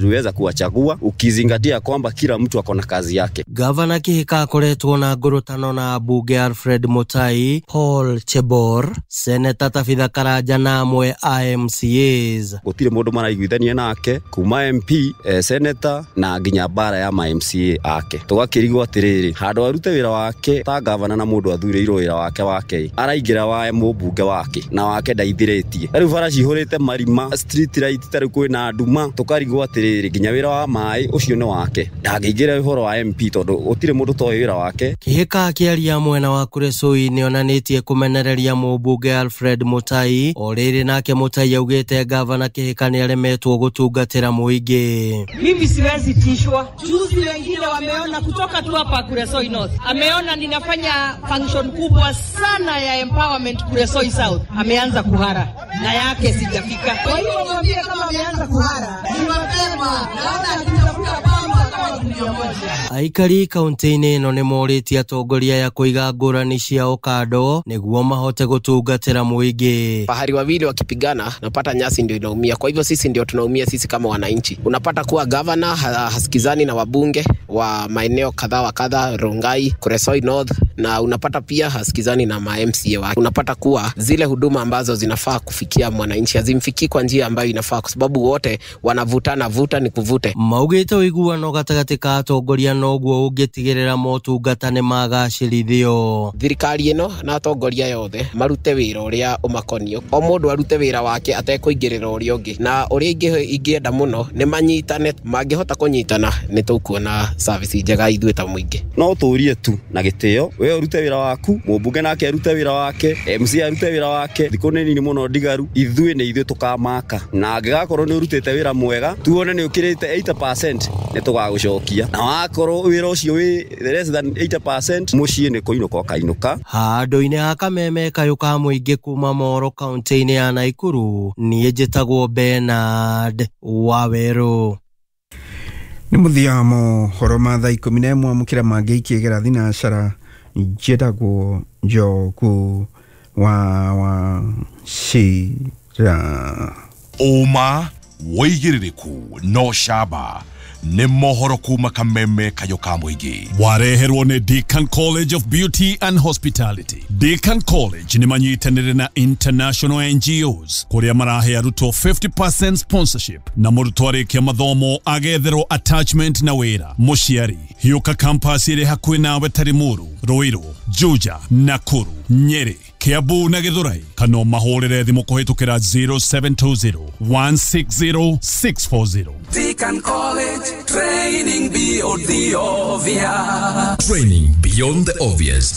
Tuliweza kuwachagua ukizingatia kwamba kila mtu ako na kazi yake. Gavana Kihika akoretwo na ngurutano na ambunge Alfred Mutai, Paul Chebor, Seneta Tabitha Karanja na amwe a MCAs. Gutire mundu maraiguithania nake kuma MP, senator na nginya bara ya ma MCA ake. Tugakirigwo atiriri handu arute wira wake ta gavana na mundu athurirwo wira wake wake araingira wa mũmbunge wake na wake ndaithirĩtie. Rĩu bara cihũrĩte marima, street light tarĩu kwĩna nduma, tũkarigwo atĩrĩrĩ nginya wĩra wa maĩ ũcio nĩ wake, ndangĩingĩra ũhoro wa MP tondũ gũtirĩ mũndũ toĩ wĩra wake. Kihika akĩaria mwena wa Kuresoi nĩonanĩtie kũmenereria mũmbunge Alfred Mutai, o rĩrĩ nake Mutai augĩte gavana Kihika nĩaremetwo gũtungatĩra mũingĩ. Mimi siwezi tishwa. Juzi wengine wameona kutoka tu hapa Kuresoi North, ameona ninafanya function kubwa sana ya empowerment Kuresoi South, ameanza kuhara na yake sijafika. Kwa hiyo mwambie kama ameanza kuhara ni mapema, naona akitafuta pamba kama gunia moja. Aikari kaunti-inĩ ĩno nĩmorĩtie atongoria ya kũiga ngũrani ciao kando nĩguo mahote gũtungatĩra mũingĩ. Fahari wawili wakipigana, napata nyasi ndio inaumia. Kwa hivyo sisi ndio tunaumia sisi kama wananchi. Unapata kuwa gavana hasikizani na wabunge wa maeneo kadha wa kadha, Rongai, Kuresoi North, na unapata pia hasikizani na ma MCA wake. Unapata kuwa zile huduma ambazo zinafaa kufikia mwananchi hazimfikii kwa njia ambayo inafaa, kwa sababu wote wanavutana, vuta ni kuvute. Maugĩte ũiguano gatagatĩ ka atongoria noguo ũngĩtigĩrĩra motungata nĩmagacĩrithio. Thirikari ĩno na atongoria yothe marute wĩra ũrĩa ũmakonio, o mũndũ arute wĩra wake atekũingĩrĩra ũrĩa ũngĩ, na ũrĩa ingĩenda mũno nĩ manyitane. Mangĩhota kũnyitana nĩ tũkuona service njega ithuĩ ta mũingĩ. No tũrie tu na gĩtĩo, we ũrute wĩra waku, mũmbunge nake arute wĩra wake, MC arute wĩra wake. Thikũ nĩ nini mũno ndigaru, ithuĩ nĩ ithuĩ tũkamaka, na angĩgakorwo nĩ ũrutĩte wĩra mwega tuone nĩ ũkĩrĩte 80% nĩ tũgagũcokia, na wakorwo wĩra ũcio wĩ less than 80% mũciĩ nĩ kũinũka ũkainũka. Handũ-inĩ ha kameme kayũ ka mũingĩ kuma Moro kaunti-inĩ ya Naikuru, niĩ njĩtagwo Bernard Wawerũ. Nĩ mũthia wa mohoro ma thaa 11 amũkĩra mangĩ ikĩgera thinacara. Njĩtagwo Njogu wa Wachira. Ũma wĩigĩrĩrĩku no camba nĩ mohoro kuma kameme kayũ ka mũingĩ. Wareherwo nĩ Deacon College of Beauty and Hospitality. Deacon College nĩ manyitanĩire na international NGOs kũrĩa marahe arutwo 50% sponsorship, na mũrutwo arĩkia mathomo agetherwo attachment na wĩra. Mũciari hiũka campus ĩrĩ hakuhĩ nawe ta Limuru, Ruiru, Juja, Nakuru, Nyeri, Kiambu na Githurai, kana mahũrĩre thimũ kũhĩtũkĩra 0720 160 640. Deacon College, training beyond the obvious. Training beyond the obvious.